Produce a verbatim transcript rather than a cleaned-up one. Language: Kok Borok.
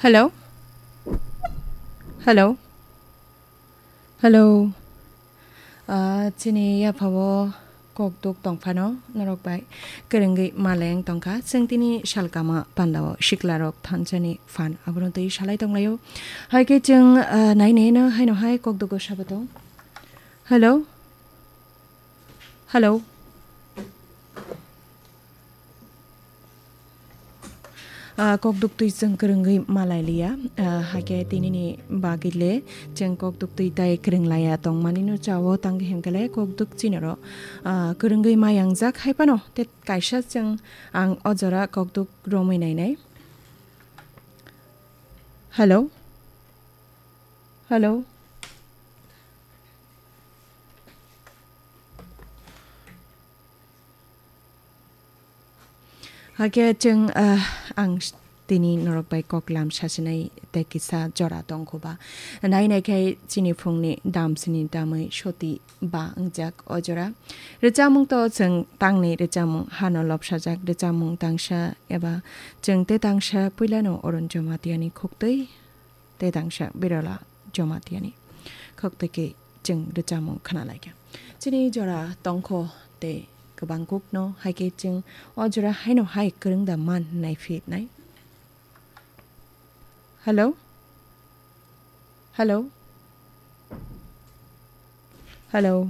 Hello? Hello? Hello? Ah, chini yaphao kokduk tongphano norok bai kwrwngwi maleng tongkha. Chwng tini salkama pandao siklarok thansani phan abono twi salai tonglaio. Hai khe chwng, ah, nai nai no haino hai kokdugo sabato. Hello? Hello? Ah, kokduk twi chwng kwrwngwi malai liya. Ah, hakhe tinini bagwi le chwng kokduk twi tai kwrwng laiya tongmani no chao tang himkhe le kokduk chinoro, ah, kwrwngwi ma yangjak hai phano te kaisa chwng ang o jora kokduk romwi nainai. Hello? Hello? Hakhe chwng, ah, ang s-, tini norok bai koklam sasinai tei kisa jora tongkhuba. Nai nai khe chini phungni dam sini damwi soti ba wngjak o jora. Rwchapmung to chwng tangni rwchapmung hano lobsajak rwchapmung tangsa eba chwng te tangsa puilano Arun Jamatia ni khuktwi tei tangsa Birala Jamatia ni khuktwi khe chwng rwchapmung khna lai kha. Chini jora tongkho tei kwbang kuk no hai khe chwng o jora haino hai kwrwng da man nai phi nai. Hello? Hello? Hello?